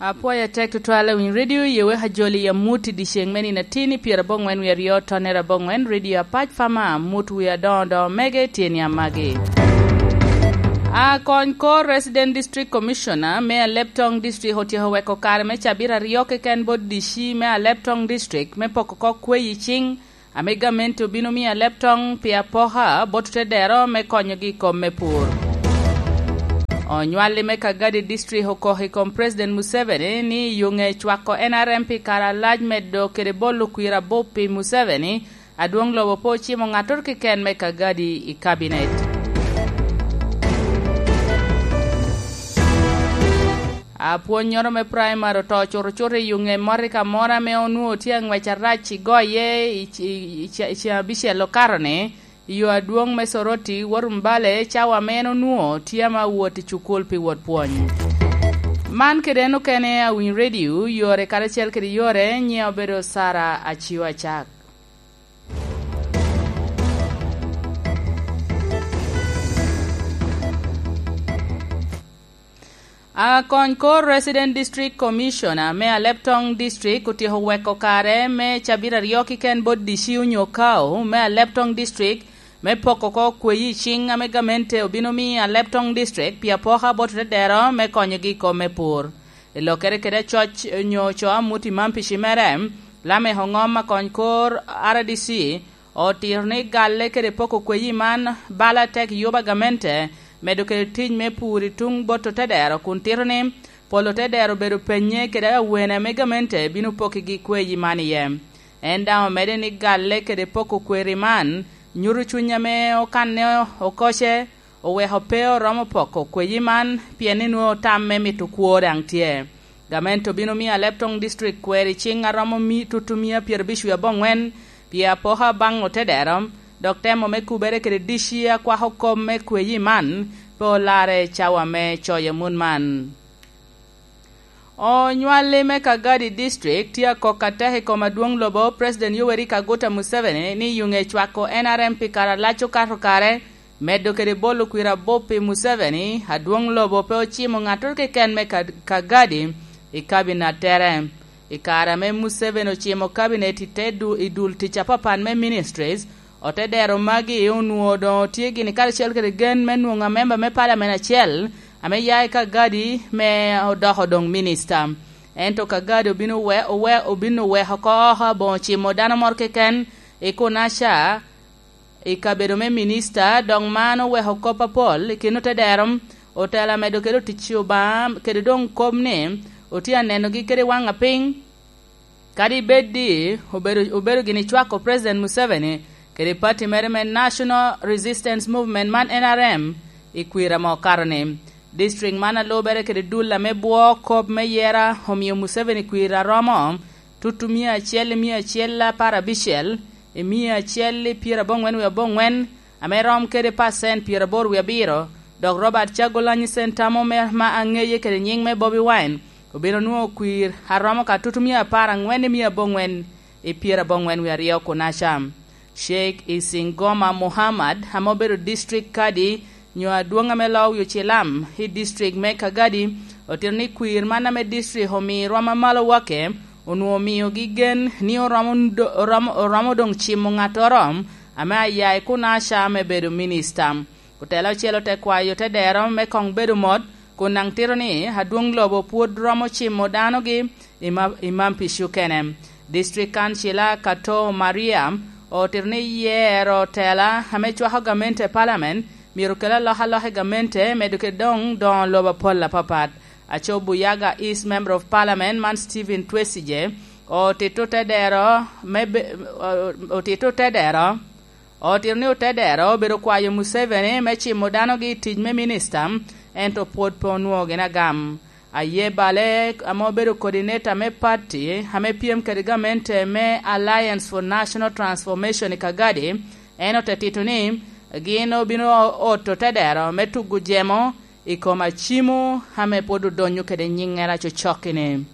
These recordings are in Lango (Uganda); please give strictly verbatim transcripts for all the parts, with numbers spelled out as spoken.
Apwoyo atek tutwal awiny redio, ye wek ajoli i amut i dyeceŋ me nino atin i pyerabongwen wie aryo tonnere abongwen, redio apac fama, amut wie adoŋo doŋo mege tye ni amagi. Akony kor Resident District Commissioner me Aleptong District otyeko weko kare me cabit aryo keken bot D C me Aleptong District me poko kok kweyi ciŋ ame gamente obino miyo Aleptong pi apoka bot otedero me konyogi i kom me pur. Onywalli me Kagadi District okok i kom President Museveni ni yuŋe cwako N R M pi kare alac medo kede bolo kwir abup pi Museveni, adwoŋ lobo pe ocimo ŋattoro keken me Kagadi i kabinet. Apwonnyoro me praimari oto cuto cuto i yuŋe mot i kamoro ame onwoŋo tye aŋwec arac i goye i, i, i, i, i abicel okato-ni, i yo adwoŋ me Soroti, wot Mbale, cawa ame en onwoŋo tye ame awot i cukul pi wot pwony. Man kede en okene awiny redio, yore karacel kede yore, nyiŋe obedo Sara Aciwa Acak. Akony kor Resident District Commissioner me Aleptong District otyeko weko kare me cabit aryo kiken bot D C onyo Kao me Aleptong District me poko oko kweyi ciŋ ame gamente obino miyo Aleptong District pi apoka bot otedero me konyogi i kom me pur. I lokere kede acoc onyo co amut i man pi cimere, Lamek Oŋom akony kor R D C otito ni galle kede poko kweyi man bala tek yuba gamente medo kede tic me pur i tuŋ bot otedero kun tito ni pol otedero obedo penye kede awene ame gamente bino pokigi kweyi man iye. En daŋ omedde ni galle kede poko kweri man nyuto cuny ame okanne okoce oweko pe oromo poko kweyi man pien ni nwoŋo tam me mito kwo daŋ tye. Gamente obino miyo Aleptong District kweri ciŋ aromo mi-, tutu mia pyerabic wie aboŋwen pi apoka baŋ otedero, dok temo me kubere kede dici akwako kop me kweyi man pe olarre cawa me coyo mut man. Onywalli me Kagadi District tye akok atek i kom adwoŋ lobo President Yoweri Kaguta Museveni ni yuŋe cwako N R M pi kare alac okato kare, medo kede bolo kwir abup pi Museveni, adwoŋ lobo pe ocimo ŋattoro keken me Ka-, Kagadi i kabinettere. I kare ame Museveni ocimo kabinet i te du-, i dul tic apapat me ministries, otedero magi onwoŋo doŋ tye gini karacel kede gen me nwoŋo amemba me palamen acel ame ya i Kagadi me odoko doŋ minista. Ento Kagadi obino we-, owe-, obino weko oko oko aboŋo cimo dano moro keken i Kunaca i kabedo me minista, dok man oweko kop apol i kin otedero, otela medo kede otic Obaŋa, kede doŋ kop ni otye anenogi kede waŋ apiny. Kadi bed ni obedo, obedo gini cwako President Museveni kede pati mere me National Resistance Movement man N R M i kwir ame okato-ni, district man a lubere kede dul ame bwo kop me yera omio Museveni kwir aromo tutu mia acel i mia acel apar abicel i mia acel i pyeraboŋwen wie aboŋwen, ame rom kede pacent pyeraboro wie abiro, dok Robert Kyagulanyi Ssentamu me, ma aŋeye kede nyiŋ me Bobi Wine, obino nwoŋo kwir a romo ka tutumia apar aŋwen i mia aboŋwen i pyeraboŋwen wie aryo Kunaca. Sheikh Isingoma Muhammad, ame obedo district kadi nyo adwoŋ ame loo wi ocilam i district me Kagadi, otito ni kwir man ame district omi rwom amalo wake, onwoŋo omiogi gen ni oromo do-, oromo, oromo doŋ cimo ŋattoro ame aya i Kunaca me bedo minista. Otela ocel ote kwayo te dero me koŋ bedo mot, kun daŋ tito ni adwoŋ lobo pwod romo cimo danogi i ma-, i Mampish okene. District Councilor Kato Maria otito ni yero otela ame cwako gamente i Parliament myero okel alokaloka i gamente, medo kede doŋ doŋo lobo apol apapat. Aco Buyaga East Member of Parliament man Stephen Twesigye otito te dero me be-, otito te dero Otito ni otedero obedo kwayo Museveni me cimo danogi i tic me minista, ento pwod pe onwoŋo gin agam. Aye Bale, ame obedo coordinator me party ame pyem kede gamente me Alliance for National Transformation i Kagadi, en ote tito ni gin obino oto tedero me tugo jemo i kom acimo ame pwod odonyo kede nyiŋŋere acocokki-ni.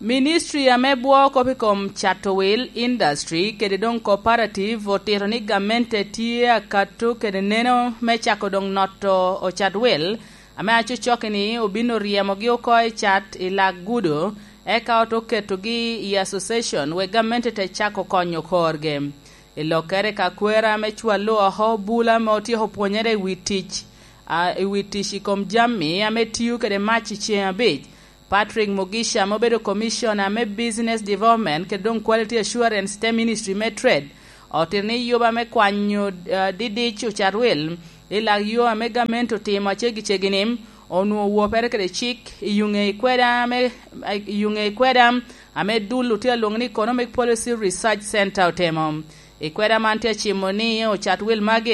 Ministry ame bwoo kop i kom cato wil, industry, kede doŋ cooperative otito ni gamente tye akato kede neno me cako doŋ noto ocat wil ame acocokki-ni obino ryemogi oko i cat i lak gudo, eka ote oketogi i association wek gamente te cako konyo korgi. I lokkere ka kwera ame cwallo oko bula ame otyeko pwonyere i wi tic, a, i wi tic i kom jami ame tio kede mac i ceŋ abic, Patrick Mugisha ame obedo Commissioner me Business Development kede doŋ Quality Assurance te Ministry me Trade, otito ni yuba me kwanyo, eh, didic ocat wil i lak yo ame gamente otimo aceggi-ceggi-ni onwoŋo wopere kede cik i yuŋe i kweda ame, i yuŋe i kweda ame dul otye alwoŋo ni Economic Policy Research Center otemo. I kweda man tye acimo ni ocat wil magi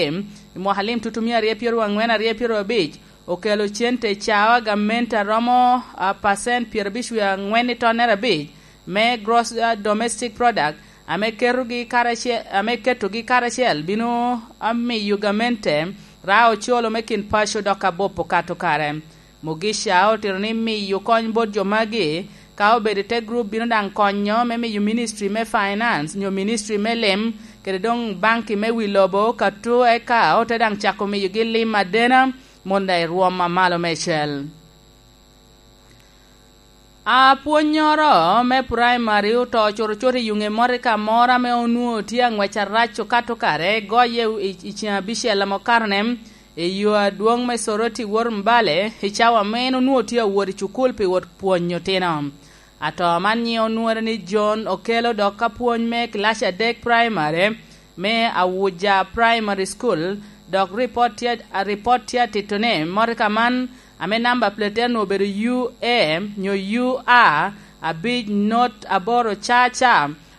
i mwaka lim tutumia aryo pyeraryo aŋwen aryo pyeraryo abic okelo cente i cawa gamente a romo, a, pacent pyerabicwi aŋwen i tonnere abic me gross, a, domestic product, ame ketogi karacel, ame ketogi karacel bino, a, miyo gamente ra ocolo me kin paco dok abup okato kare. Mugisha otito ni miyo kony bot jo magi, ka obedo i te grup, bino daŋ konyo me miyo Ministry me Finance nyo Ministry me Lim kede doŋ banki me wi lobo ka tu, eka ote daŋ cako miyogi lim adena, mondo i rwom a malo meicel. Apwonnyoro me praimari oto cutucut i yuŋe mot i ka moro ame onwoŋo tye aŋwec arac okato kare, goye i, i ceŋ abicel ame okato-ne, i yo adwoŋ me Soroti wot Mbale, i cawa ame en onwoŋo tye awot i cukul pi wot pwonyo otino. Ato man nyiŋe onwoŋere ni John Okello, dok apwony me kilaci adek praimari me Awuja Primary School, dok ripot tye, ripot tye atito ni motoka man ame namba plate-te onwoŋo obedo U A nyo U R abic not aboro C C,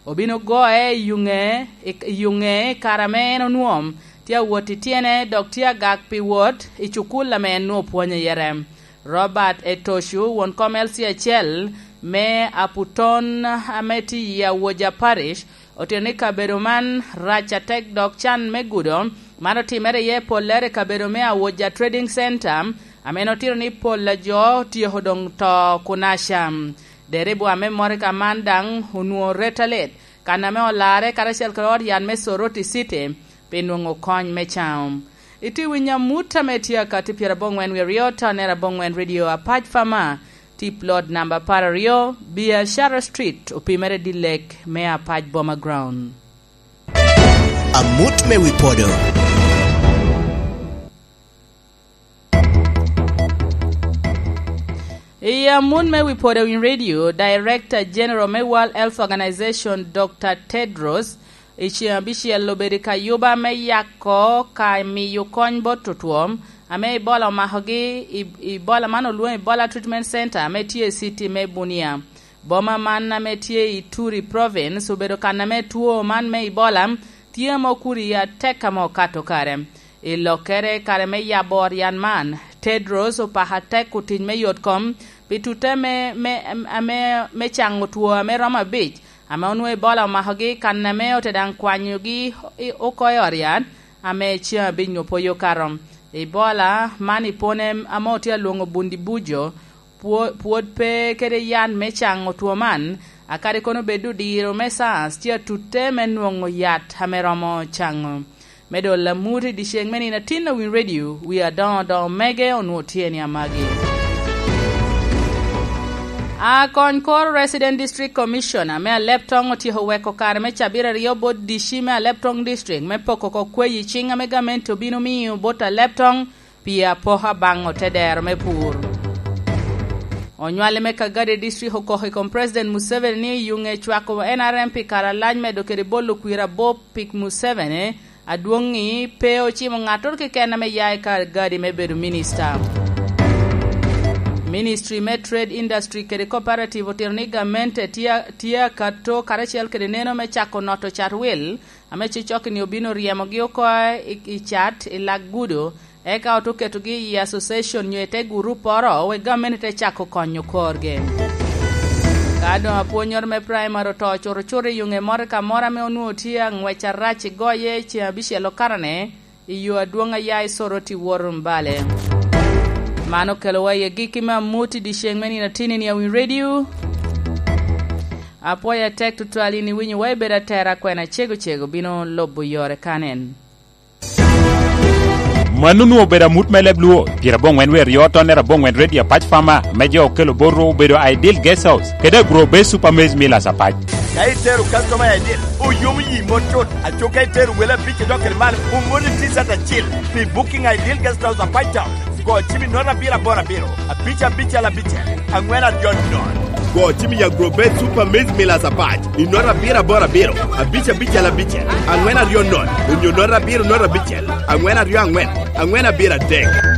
obino goye i yuŋe, i, i yuŋe i kare ame en onwoŋo tye awot i tyene, dok tye agak pi wot i cukul ame en nwoŋo pwonyo iye. Robert Etocu, won kom L C acel me Aputon ame tye i Awoja Parish, otito ni kabedo man rac atek, dok can me gudo man otimere iye pollere i kabedo me Awoja Trading Center, ame en otito ni pol a jo otyeko doŋ to kunaca. Deribwa me motoka man daŋ onwoŋo ret alit, kan ame olarre karacel kede ot yat me Soroti City pi nwoŋo kony me caŋo. Itye winyo amut ame tye akatti pyeraboŋwen wie aryo, tonnere aboŋwen Radio Apac Fama, tip lot namba apar aryo, Biashara Street, opimere dilek me Apac Boma Ground. Amut me wi podo. I amut me wi podo i radio, Director General me World Health Organization, Doctor Tedros, i ceŋ abicel obedo i kayuba me yako ka miyo kony bot otwo ame Ebola omakogi i, Ebola man olwoŋo Ebola Treatment Center ame tye i city me Bunia. Boma man ame tye i Ituri Province obedo kan ame two man me Ebola tye ame okuri atek ame okato kare. I lokkere kare me yabo ot yat man, Tedros opako atek otic me yot kom pi tutte me, me, ame, me caŋo two ame romo abic, ame onwoŋo Ebola omakogi, kan ame ote daŋ kwanyogi i, oko i ot yat, ame ceŋ abic nwoŋo pwod okato. Ebola man i pwone ame otye alwoŋo Bundi Bujo, pwo-, pwod pe kede yat me caŋo two man, akadi kono bed odiro me SARS tye atutte me nwoŋo yat ame romo caŋo. Me dolo amut i dyeceŋ me nino atin a Win Radio, wi adoŋo doŋo mege onwoŋo tye ni amagi. Akony kor Resident District Commissioner me Aleptong otyeko weko kare me cabit aryo bot D C me Aleptong District me poko oko kweyi ciŋ ame gamente obino miyo bot Aleptong pi apoka baŋ otedero me pur. Onywali me Kagadi District okoko i kom President Museveni ni yuŋe cwako N R M pi kare alac medo kede bolo kwir abop pi Museveni, adwoŋ-ŋi pe ocimo ŋattoro keken ame ya i Kagadi me bedo minista. Ministry me Trade, Industry kede Cooperative otito ni gamente tye, tye akato karacel kede neno me cako noto cat wil, ame cocokki-ni obino ryemogi oko i, i cat i lak gudo, eka ote oketogi i association nyo i te gurupporo, wek gamente te cako konyo korgi. Ka doŋ apwonnyoro me praimari oto cutucut i yuŋe moro ka moro ame onwoŋo tye aŋwec arac i goye i ceŋ abicel okarane, i yo adwoŋ aya i Soroti wot Rumbale. Man okelowa i agikki me amut i dyeceŋ me nino atinni a Win Radio. Apwoyo atek tutwal in iwinyowa, ibedo atera, kwena cego cego bino lubo yore kanen. Mano onwoŋo obedo amut me leb Luo, pyerabongwen wie aryo tonnere abongwen Ready Apac Farmer, me jo okelo bot rwok obedo Ideal Guest House, kede Agro Base Super Maize Millers Apac. Ka itero customer i Ideal, oyomo yi mot cut. Aco ka itero wele abic i dok kede malo, omoni T-shirt acil pi Booking Ideal Guest House Apac Town. Go cim i note abiro aboro abiro, abic abicel abicel, angwen aryo nono. Go cim i Agro Base Super Maize Millers Apac i note abiro aboro abiro, abic abicel abicel, angwen aryo nono, onyo note abiro note abicel, angwen aryo angwen, angwen abiro adek.